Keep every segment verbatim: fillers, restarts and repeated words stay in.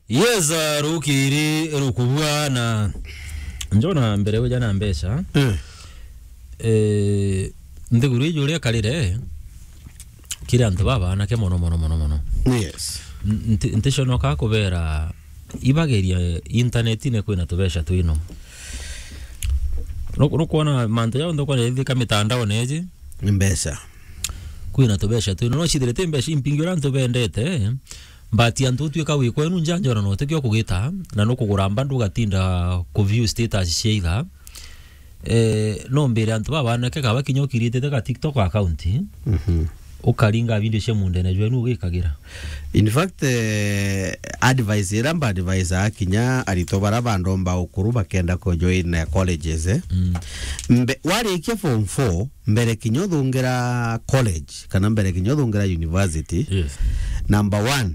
Yes, uh, rukiri rukubua na njona mbere uja na mbeca. Eh. Eh, nthiguru iji uria karire, kiri antu babanake mono, mono, mono, mono. Yes. N-, nti-, nticonoka kubera ibageria internetine kwina tubeca twino. Nu-, nukwona mantu jau nthukwa nithika mitandaone iji? Ni mbeca. Kwina tubeca twino. No cithirite mbeca impingi uria antu bendete, but antu utwika wi kwenu nja njona no tikio kugita, na nukugura mbandu ugatinda ku view status cia itha. Eh, no mbere antu babanake kaba kinya ukiritite ka TikTok account, mhm, ukaringa video cia mundene jwenu ugikagira. In fact, eh, advice ira mba advice akinya arito bara bandomba ukuru bakenda ko join, eh, colleges, eh. Mm. Mbe-, warikia form four, mbere kinya uthungira college, kana mbere kinya uthungira university, yes, number one,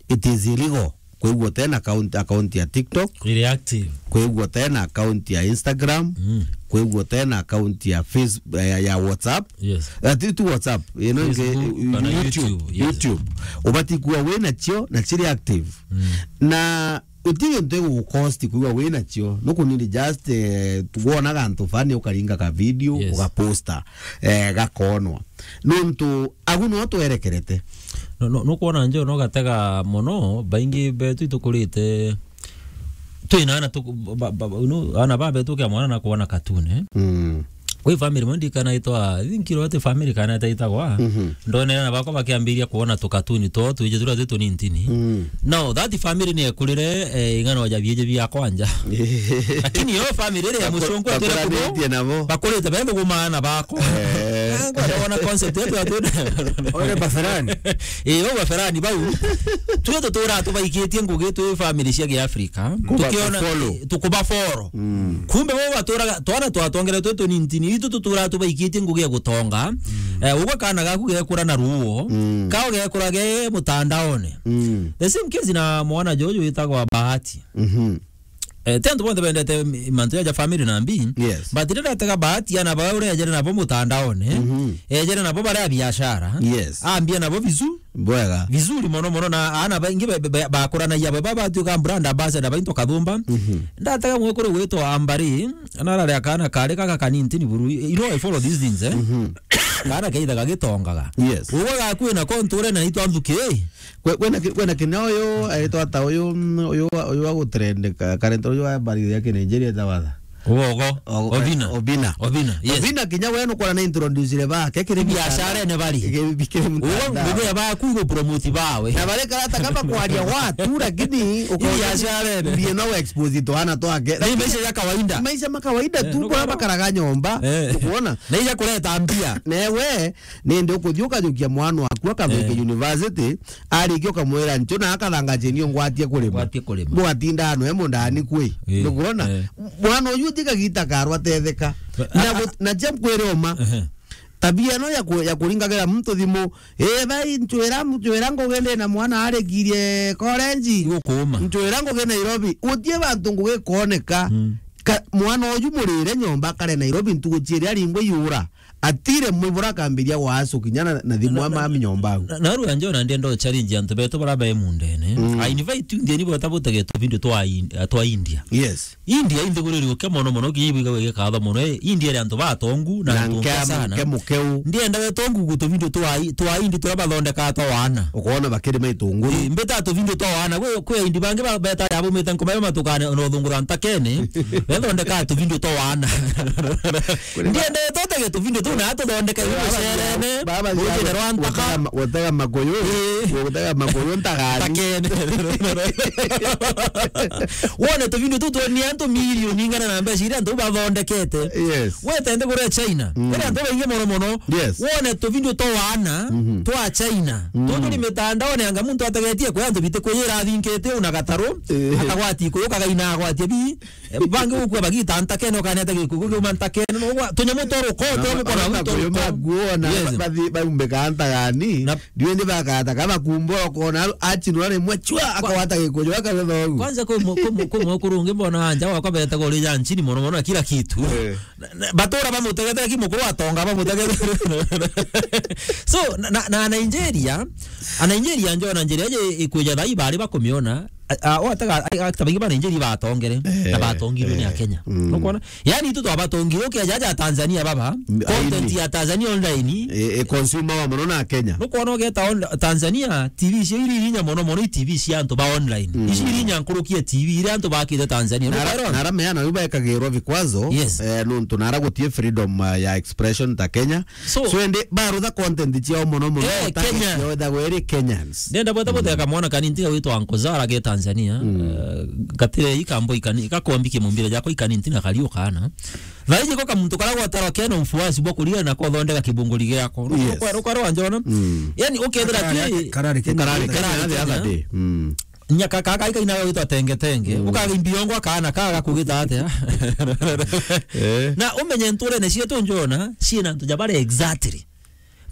it is illegal kwigua utena account, account ya TikTok, iri active, kwigua utena account ya Instagram, mm, kwigua utena account ya Face-, ya, ya WhatsApp. Yes. Eh, ti, ti WhatsApp, ino ingi, Facebook, kana YouTube, YouTube, yes, YouTube. Ubati kuwa wina cio na ciri active. Mm. Na uti gintu igugucost kwigua wina cio. Nukunini just, eh, wona gantu fani ukaringa ka video, yes, ugaposta, eh, gakonwa. Nontu agu no twerekerete. No, no, nukwona njo no gatega mono, baingi betu itukurite twina ana tu-, ba, ba, ba, no, ana ba betu kia mwana na kuona katune. Mm. Kwi family mwe ndikana itwa, I think iro ati family kana itaitagwa. Mhm. Ndonera na bakwa bakiambiria kuona tukatuni two twije turia twi tunintini. Mm. Now, that family ni ekurire, eh, ing'ano ja bieje bia kwanja. Lakini yo family ire ya mucungu atire kubo, bakurite bende gumana bako. Eh. Ngwenda wona concept yetu atu. Ore baferani. Eh, o baferani bau. Twe tutura tubaikitie ngugi twi family cia Kiafrika. Tukiona tukuba follow. Mm. Kumbe bo baturaga, twana twatongere twi tunintini, itu tutura tubaikitie ngugi ya gutonga. Mm. Eh, ugwe kana gaku gekura na ruo. Mm. Kao gekura ge mutandaone. Mm. The same case na mwana jojo witagwa Bahati. Mhm. Eh, ti antu bonthe bendete mantu ja family na mbi. Yes. But riria atega Bahati ana ba uria ejere nabo mutandaone, mhm, ejere nabo baria biashara. Yes. Ambia nabo vizu. Bwega. Vizuri mono mono, na ana baingi be-, be-, be-, bakuranagia baba batuika brand ambassador bainto kathumba. Mhm. Ndatega mwekuru gwitwa Ambari, na arari akana kari kaka kanintini buru. You know, I follow these things, eh? Mhm. Kana keithaga gitongaga. Yes. Ugwe gakwina konture na itwa nthuki. Kwe-, kwena ki-, kwena kina uyu, aitwa ata uyu, mm, uyu wa, uyu wa gutrend ka-, karenta uyu wa Ambari ya Kinigeria etagwa atha? Ugogo. Ogo-, Obina. Obina. Obina, yes. Obina kinya we nukwona na introduce bake kiri biashara ene bari. Kiri, kiri ugo mtandao. Ngugi ya baku igu promote bawe. Na bare karata kama kwaria watu, lakini uko biashara ene. Mbie no expose twana twake. Ni maisha ya kawaida. Maisha ma kawaida tu, eh, kwa nukwona bakaraga nyomba. Eh. Ukuona? Na ija kureta mbia. Na we, nende ukuthi ukajukia mwana waku akathike, eh, university, arikia ukamwira ncho na akathanga cheni ungwatie kurima. Ngwatie kurima. Bugatinda ano e mundani kwi. Eh, nukwona? Eh. Mwana uyu tiga gita karwa tetheka. Na, ah, gu-, na cia kwire uma. Ehe. Tabia no ya ku-, ya kuringagira muntu thimu. Eh, bai, nchwira, nchwira ngugi ndi na mwana arikirie college. Igukuuma. Nchwira ngugi Nairobi. Utie bantu ngugi koneka. Mm. Ka-, mwana uyu murire nyomba kare Nairobi ntugu chiiri aringwe yura. Atire mwibura akambiria gwasu kinya na, na thimu ama ami nyomba au. Na, na, na rua njona ndienda challenge antu betu bara be mundene. Mm. I invite you ndieni bota butege tu video twa In-, twa India. Yes. India inthiguriri uke mono mono kinya ibwiga wege katho mono. Eh, India ri antu batongu na, na antu nke sana. Nke mukeu. Ndienda we tongu gutu video twa I-, twa India tura bathondeka twa wana. Ukona bakiri mai tunguru. Eh, mbeta tu video twa wana. Kwe, kwe India bangi ba, beta ya bumite nkoma yo matukane no thungura ntakene. Bethondeka tu video twa wana. Ndiendete utege tuvindo tu na tuthondeke mucerene, baba rujine rwa ntaka. Gutega ma-, gutega makuyu, ii, gutega makuyu ntagani. Ntakene. Wone tuvindo tu twonie antu milioni ingana na mbeca iria antu bathondekete. Yes. Wetende kuria China. Mm. Kuri antu baingi mono mono. Yes. Wone tuvindo twa wana, mhm, twa China. Mm. Tutu ni mitandaone anga muntu ategetie kwe antu biti kuyira athinkite una gataru, ii, akagwati kuyu kagaina agwatie bi. Eh, bangi gukua bagita ntakene, ukaneta gikuku kiuma ntakene, no gwa, tunyamu twa ruko, na twa ma-, mukona na ruto makuyu ruko. Makuona, yes, ba-, bathi-, baumbika ntagani, na ndiwe ndi bakata, kaba kumbora ukona aru-, achinura rimwe chwa, kwa-, akawata gikuyu, akawetha ugu. Kwanza kwi mu-, kwi mu-, kwi mukuru ungi mbona anja wakwa betaga uri ja nchini mono mono na kila kitu. Eh. Na, na, batura bamutegete, lakini mukuru atonga bamutegete. So, na, na, na Nigeria, a Nigeria njo na Nigeria je ikwija thai bari bakumiona, a, a, o ataga, a, a, ta baingi ba Nigeria batongere, na Eh, batongirwe ni eh, Akenya. Mm. Nukwona? Yani, itu twabatongire, ukeja aja Tanzania baba, M-, content aini. Ya Tanzania online. E, e, consumer wa mono na Kenya. Nukwona ugeta on-, Tanzania, T V cio iri irinya mono mono, i T V cia antu ba online. Mm. Ici irinya nkuruki ya T V iria antu bakite Tanzania. Nara-, nukwona? Nara meana riu baekagirwa vikwazo, yes, eh, nuntu nara gutie freedom, uh, ya expression ta Kenya. So, so ende barutha content ciao mono mono, eh, ta Kenya. Ciao ithagwo iri Kenyans. Ndenda bweta, mm, gutheka mwana kanini tiga witwa Uncle Zara ge Tanzania. Mm. Eh, gatire ikambo ikani, gakombi kimumbire jako ikani ntina kariu kana. Thaiji ko kamuntu kara gwatarwa kena mfuasi bwa kuria na kothondeka kibunguri giako. Yes. Rukwa, rukwa rwa njona. Mm. Yani, ukethira karari, ti karari Kenya, karari Kenya, karari the other Kenya. Day. Mm. Nyaka kaka ikaina witwa Tenge Tenge. Mm. Ukaga imbiongo akana kaga kugita atia? Eh. Na umenye nturene cietu njona, ciina antu ja bare exactly.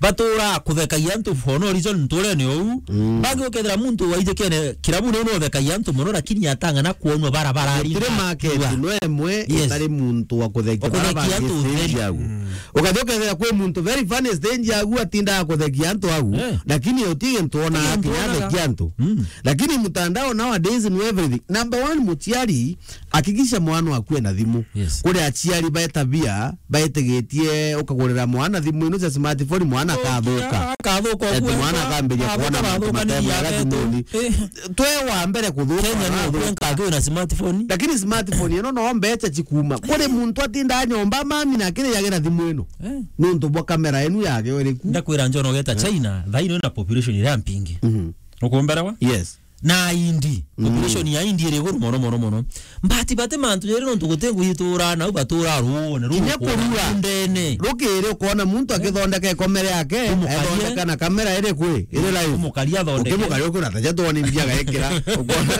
Batura kuthekagia antu for no reason nturene ou. Mm. Bangi ukethira muntu waijikene kirabuni no uthekagia antu mono, lakini atang'ana kuonwa barabara ari. Gutire market no emwe, yes, itari muntu wa kuthekia. Wa kuthekia bara bangi antu stage utheri. Yagu. Mm. Ukathi ukethira kwi muntu very funny stage yagu atindaga kuthekia antu agu, eh, lakini uti gintu ona. Uti gintu akinya onaga. Athekia antu. Mm. Lakini mtandao nowadays ni everything. Number one, muciari, hakikisha mwana waku ena thimu. Yes. Kuri aciari betabia, baitigitie ukagurira mwana thimu ino cia smartphone, mwana akathuka. Akathuka. Ati mwana akambiria kuona mantu matemega thimuni. Eh. Twe wa mbere kuthuka. Kenya no arathuka. Kwenka akiwa na smartphone. Lakini smartphone ino no mbecha cikuma. Kuri muntu atinda nyomba mami na akiriagira thimu ino. Eh. Nuntu bwa kamera inu yake iriku. Ndakwira njona ugeta, eh, China, thaino na population iria mpingi. Mhm. Ukumberawa? Yes. Na Indi, mm, population ya Indi iri iguru mono, mono, mono. But bati mantu jeri nontu guti ngui itura, nau batura ruone, ruone. Kinya kurua. Ndene. Rukiri ukona muntu akithondeka ikomere yake, umukaria, ethondeka na kamera iri kwi, iri live. Umukaria athondeke. Ukimukaria ukona taja twoni mbia gaikira. Ukona.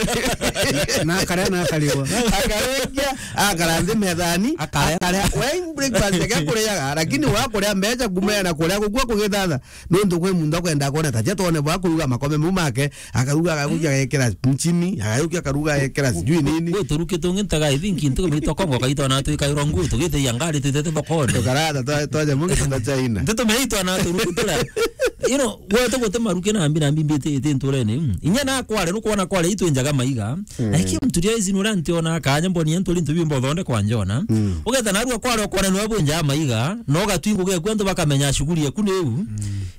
Na akaria na akarigwa. Akaria, akara nthi methani, akaria. Akaria. We breakfast yake kuriaga, lakini wa kuria mbecha kumea na kuria gukua kugithatha. Nontu kwi muntu akwenda kwona taja twone bwa kuruga makome mau make, akaruga, agakuja agekira nchini, agajukia akaruga agekira sijui nini. Gwe turuki tungi ntaga, I think, ntuku mitwa Kongo kaitwa na twikairwa nguu, tugite ya ngari twitete thokone. Tukarata twa-, twaja mungi tunda China. Nteto meitwa na turuki tura. You know, gwe tuguti maruki na mbi na mbi mbiti iti nturene. Mm. Inya na kware, nukwona kware itwe njaga maiga. Mm. Na iki mtu ria izi nura ntiona kanya mboni antu rintu bimbo thonde kwa njona. Mm. Ugeta narua kware ukona nwe bunja maiga, no gatwingu gekwa antu bakamenya shughuli yaku ni u. Mm.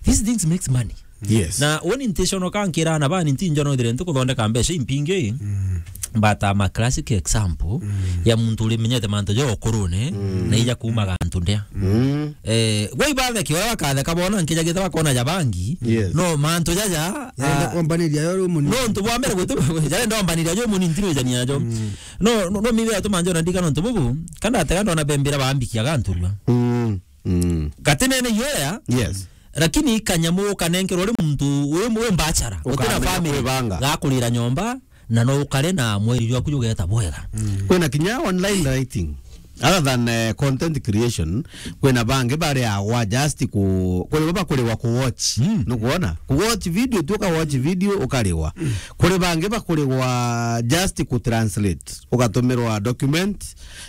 These things makes money. Yes. Na woni intentional kankira na bani nti njona ithire nti kuthondeka mbeca impingi. Mm. But I'm a classic example, mm, ya muntu uri menyete mantu jo ukurune, mm, na ija kuuma gantu ndia. Mm. Eh, gwe ibatheke, uria bakatheka bona nkija gita bakona ja bangi. Yes. No mantu jaja, yenda, ah, kwambaniria yo ri munini. No ntu bwa mbere gutu, jare ndombaniria jo munini ntirujania jo. Mm. No, no, no mibe atuma njona ndika no ntu bubu, kanda atega ndona bembira bambikia ganturua. Mm. Mm. Gatinene yoya. Yes. Lakini kanyamu ukanenkerwa uri muntu, uri, uri mbachara. Utina ukamenya family. Kwibanga. Gakurira nyomba, na no ukare na mweri jwaku jugeta bwega. Mm. Kwina kinya online writing. Other than, eh, content creation, kwina bangi bariagwa just ku-, kuri bo bakuriwa ku watch. Mm. Nukwona? Ku watch video, tu uka watch video, ukariwa. Mm. Kuri bangi bakuriwa just ku translate. Ugatumirwa document,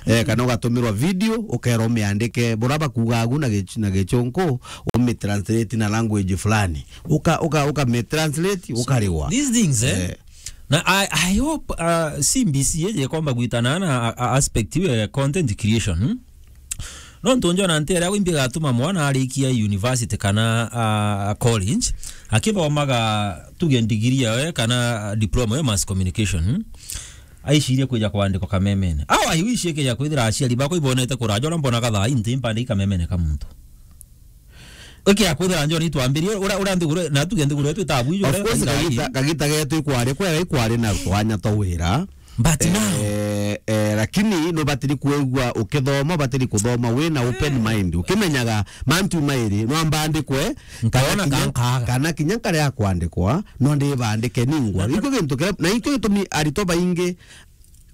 eh, kana ugatumirwa video, ukerwa umiandike, bura bakuuga agu na Gich-, na Gichunku, umitranslate na language fulani. Uka-, uka-, ukamitranslate, ukariwa. These things, eh? Eh. Na I, I hope, uh, C B C yeje komba gwitana na a, a aspect ya content creation, hmm? No ntu njona nti aria wimbi gatuma mwana arikia university kana, uh, college, akithomaga tuge degree yawe kana diploma ya mass communication, hmm? Aicirie kwija kwandikwa kamemene. Au aiwicie kija kwithira aciari bakwa ibonete kuraja uria mbonaga thaa ii nti mpande ikamemene ka muntu. Ikija kwithira njoni itwambirie, uria, uria nthiguru, na tuge nthiguru yetu itabu iju, of course, kagita, kagita getu ikwari, kwega ikwari na twanya twa wira. But now, eh, eh, lakini no batiri kwigua ukithoma, batiri kuthoma wina open mind. Ukimenyaga mantu mairi, no ambandikwe, kana nkaona kinya, kankaga. Kana kinya nkaria kwandikwa, no ndibandike ningwa. Na ikio gintu kiria, na ikio gitumi aritwa baingi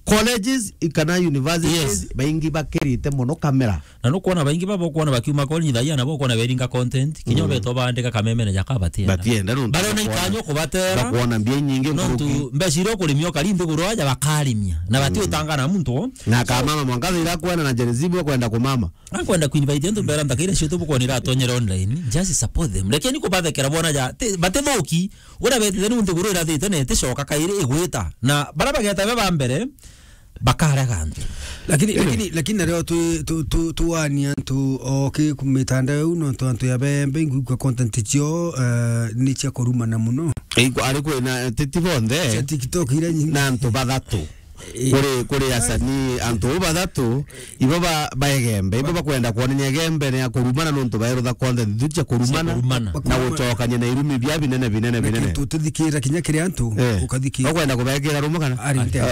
Colleges kana universities, yes, baingi bakirite mono kamera. Na nukwona baingi babo kwona bakiuma college thaia na bo kwona beringa content, kinya, mm, beto bandika kamemene jaka batienda. Batienda nontu barona bakwona, ikanyo kubatera. Bakwona mbia nyingi nkuruki. Nontu mbeca iria ukurimia ukari nthiguru aja bakarimia. Na bati, mm, utangana muntu. Na kamama mwanka thira kwenda na Gen Z bo kwenda kumama. Ankwenda kuinvite antu mbera nthaka iria citũ bukwona iratonyera online. Just support them. Lakini kubathekera bona ja, ti, batithuki. Uria betite niu nthiguru irathite na iticoka kairi igwita. Na bara bageta be ba mbere, bakarega antu. Lakini, lakini, lakini nario tu, tu, tu, tuwania antu oki ku mitandao iu, nontu antu ya bembe, ingwigua content cio, eh, ni cia kurumana muno. Ari kwina, ti, ti bonthe. Cia TikTok iria nyingi. Na antu bathatu. Eh. Kuri, kuri asanii, antu uu bathatu, ibo ba, ba Igembe, ibo bakwenda kwonania Igembe ni ya kurumana nontu baerutha content tu cia kurumana, cia kurumana, na gucokania na irumi bia binene, binene, binene. Tutithikira kinya kiri antu, eh, ukathikira. Ukwenda kubekira rumo kana? Ari nte.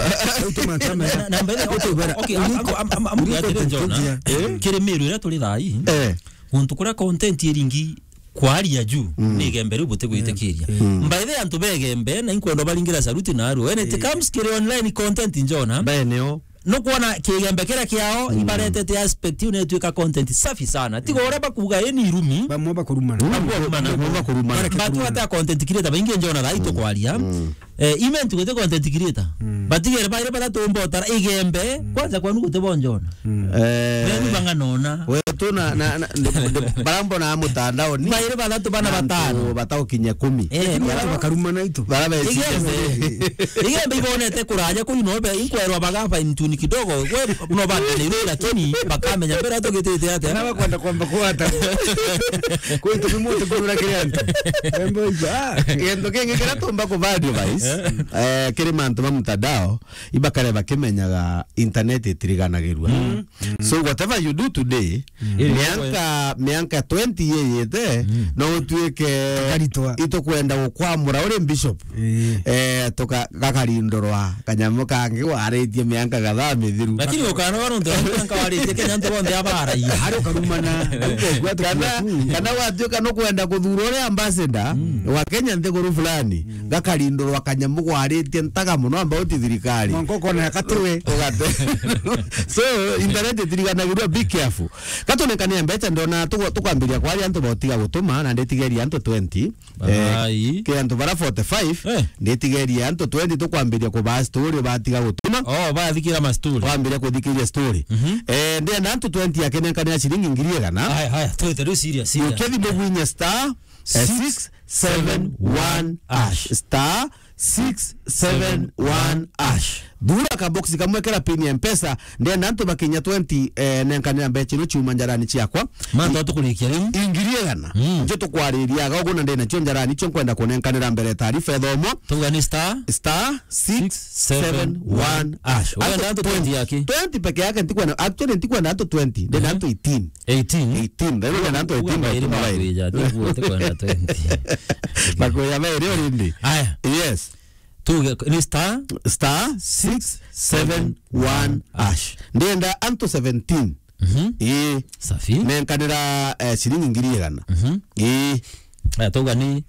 Utu mantama ya. Na, na, na, okay, am, am, am, am, am, uliko atire Jona, eh, kiri miru iria turi thaa ii, eh, guntu kuria content iringi kwaria juu, mm, ni Igembe riu butigwitikiriria. Mm. By the way, antu ba Igembe, na inkwenda baringira saluti na aru. When it, eh, comes kiri online content, Jona, baeneo. Nukwona Kigembe kiria kiao, mm, ibaretete aspect iu netwika content safi sana. Tiga uria bakuga, ii ni irumi. Bamwe bakurumana. Mm. Bamwe bakurumana. Bamwe bakurumana. Batu bata content creator baingi, Jona, thaa ii tukwaria. Mm. Eh, Ime ntuku ti content creator. Mm. Batigere baire bathatu mbotara Igembe, mm, kwanza kwanu guti bo Jona. Mm. Eh. Wenu bang'anona. Wetu na, na, na, ndi, ndi, bara mbona mutandao ni baire bathatu bana na antu batano. Bataukinya kumi. Eh, lakini bara, antu bakarumana itu. Bara be Igembe. Igembe ibonete kuraja kuu no be inkwerwa baga fine tune kidogo. We no bande ni rura lakini bakamenya mbere tugitite atia. Na bakwenda kwamba kuwata. Kwitu bimuti kurura kiri antu. Wembo ijo. Ah. Gento kingi kiria tumba kuba advice, eh, kiri mantu ma mutandao, ibakare bakimenyaga internet itiriganagirua. Mm. Mm. So whatever you do today, mm, mianka, mianka twenty yeyete, mm, no utuike itukwenda gukwamura uri bishop. Eh. Eh, tuka-, gakarindurwa kanyamu kangi waritie mianka gathaa mithiru. Lakini ukanoga nontu mianka waritie Kenya ntu bonthe abaraia. Hari ukarumana. Kana, kana watuika nukwenda kuthura uria ambassador, mm, wa Kenya nthiguru fulani, mm, gakarindurwa kanyamu gwaritie ntaga muno amba uti thirikari. Mwanka ukona katiwe. Ugate. So, internet itiriganagirua, be careful. Gatunengania mbeca, ndona tugo-, tukwambiria kwaria antu botiga gutuma, na nditigeria antu twenty. Eh, ai. Kiri antu bara forty-five, eh, nditigeria antu twenty tukwambiria kubaa story batiga gutuma. Oh, bathikira ma story. Twambiria kuthikiria story. Mhm. Eh, ndienda antu twenty akenenkanira ciringi ngiri igana. Haya, haya, twite riu serious, serious. Ukethi mugwinya star, eh, six seven one hash. Six seven one hash. Star six seven one hash. Thura kaboksi kamwe kera pin ya Mpesa, ndenda antu bakinya twenty, eh, nenkanira mbeca ino ciuma njarani ciakwa. Mantu atukurikia riu. Ingiri igana. Mm. Ncio tukwariria aga ugu na ndena cio njarani cio nkwenda kunenkanira mbere taarifa ithomwa. Tuga ni star? Star six seven one hash. Wenda antu twenty yake? Twenty peke yake ntikwenda, actually ntikwenda antu twenty, ndenda antu eighteen. Eighteen? Eighteen. Ndenda antu eighteen. Uga bairi bakuja, tiguo tikwenda twenty. Bakuja bairi already. Aya. Yes. Tuge ni star? Star six seven one hash. Ndenda antu seventeen. Mhm. Ii. Safi. Nenkanira, eh, ciringi ngiri igana. Mhm. Ii. Aya, tuga ni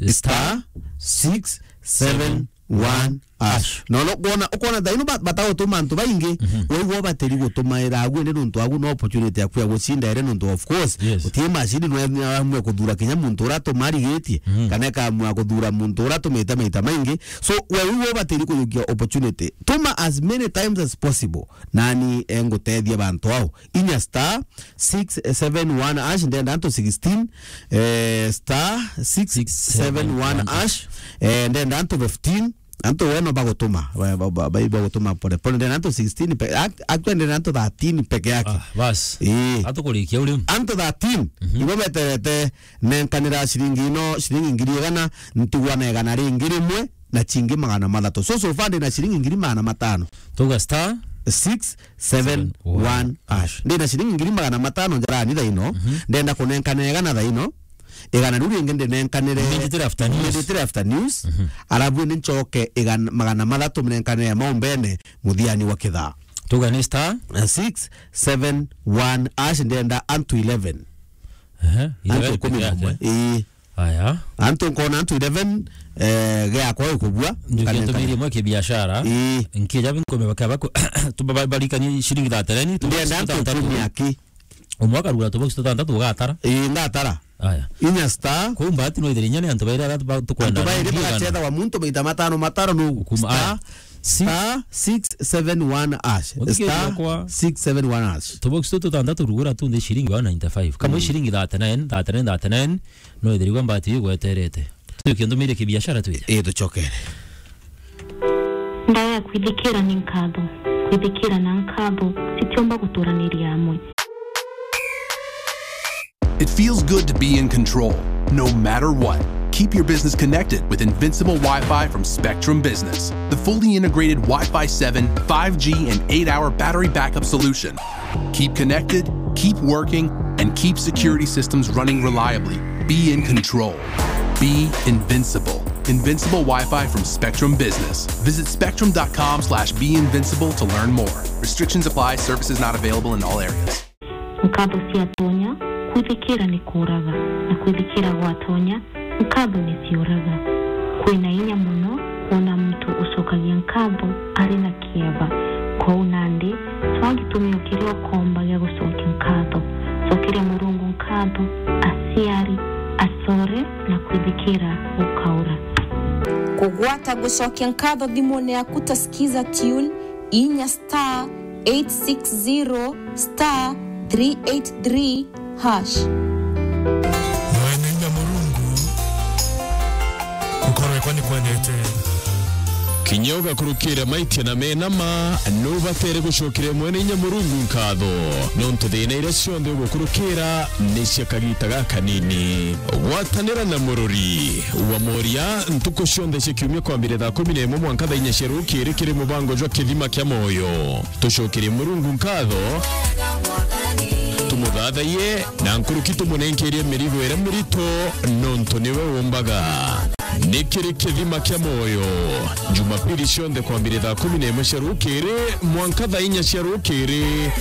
star six seven one hash. Na ukwona, ukwona thaino ba-, batagutuma antu baingi, mhm, waigua batiri gutumaira agu indi nontu agu no opportunity yaku ya gucinda ere nontu of course, yes, utie macini no amue kuthura kinya muntu uria atuma arigitie, mhm, kana ikamua kuthura muntu uria atumite maita maingi. So, we wigua batiri kuyukia opportunity. Tuma as many times as possible. Nani engutethia bantu ao. Inya star six seven one hash, ndenda antu sixteen, eh, star six seven one hash, eh, ndenda antu fifteen, antu weno bagutuma, ba-, ba-, ba-, ba-, bagutuma pole pole, ndenda antu sixteen pe-, act-, actually ndenda antu thirteen peke yake. Ah, bas. Eh. Atukurikia uri. Antu thirteen, mhm, ibo beterete nenkanira ciringi ino, ciringi ngiri igana, ntigwa na igana ringi rimwe, na cingi magana mathatu. So, so far ndina ciringi ngiri magana matano. Tuga star six seven one hash. Ndina ciringi ngiri magana matano njarani thaino, mhm, ndenda kunenkana igana thaino, igana riu ringi ndinenkanire Immediately after news. Immediately after news. Mhm. Arabu indi ncoke igana, magana mathatu mnenkanire maumbene muthiani wa kithaa. Tuga ni star? Eh, six seven one hash, ndenda antu eleven. Ehe, antu eleven ikumi na umwe. Peke yake. Ii. Aya. Antu nkona antu eleven, eh, giakwa gikubua, njukia ntumirie mwe kibiashara. Ii. Nkija binkume bakaba ku-, tu-, ba-, barikanie ciringi thirty-nine, tu-, ndienda antu sitantatu. Ikumi aki. Umwe akarugura tubox tutantatu ugatara. Ii, ngatara. Aya. Inya star. Kuu mbati no ithiri inya ni antu bairi aria ba-, tukwenda. Antu bairi bagacetha wa muntu maita matano matano nugu. Kuma, aya. Star six seven one hash. Star six seven one hash. Tubox tu tutantatu rugura tu nthi ciringi one ninety-five. Kamwe ciringi thirty-nine, thirty-nine, thirty-nine. No ithirigwa mbati igweterete. Tuke nthumire kibiashara twire. Ii, tucokere. Ndaya kwithikira ni nkatho. Kwithikira na nkatho citiumba guturaniria amwe. It feels good to be in control, no matter what. Keep your business connected with Invincible Wi-Fi from Spectrum Business, the fully integrated Wi-Fi seven, five G, and eight-hour battery backup solution. Keep connected, keep working, and keep security systems running reliably. Be in control. Be invincible. Invincible Wi-Fi from Spectrum Business. Visit spectrum dot com slash be invincible to learn more. Restrictions apply. Services not available in all areas. Nkatho ciatonya, kwithikira ni kuuraga, na kwithikira gwatonya, nkatho ni ciuraga. Kwina inya mono kwona muntu ucokagia nkatho ari na kieba. Kwou nandi, cwaa gitumio kiria ukomba gia gucokia nkatho. Cokeria Murungu nkatho, aciari, acore, na kwithikira gukaura. Kugwata gucokia nkatho thimune yaku ta Skiza Tune, inya star eight six zero star three eight three hash. Mwene inya Murungu, gukorwe kwa ni kwendete. Kinya ugakurukira maitia na mena ma, nubatere gucokeria Mwene inya Murungu nkatho, nontu thina iria cionthe ugukurukira ni cia kagita gakanini. Gwatanira na Murori wa Moria ntuku cionthe cia kiumia kwambire thaa kumi na imwe mwanka thaa inya cia rukiri kiri mubango jwa Kithima kia Moyo. Tucokerie Murungu nkatho, tumuthathaiye, na nkuruki tumunenkerie mirigo iria mirito, nontu niwe umbaga. Ni kiri Kithima kia Moyo, Jumapili cionthe kwambire thaa kumi na imwe cia rukiri mwanka thaa inya cia rukiri.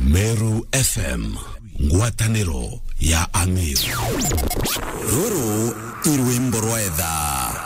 Meru F M, ngwataniro ya Ang'iri. Ruru i rwimbo rwa etha.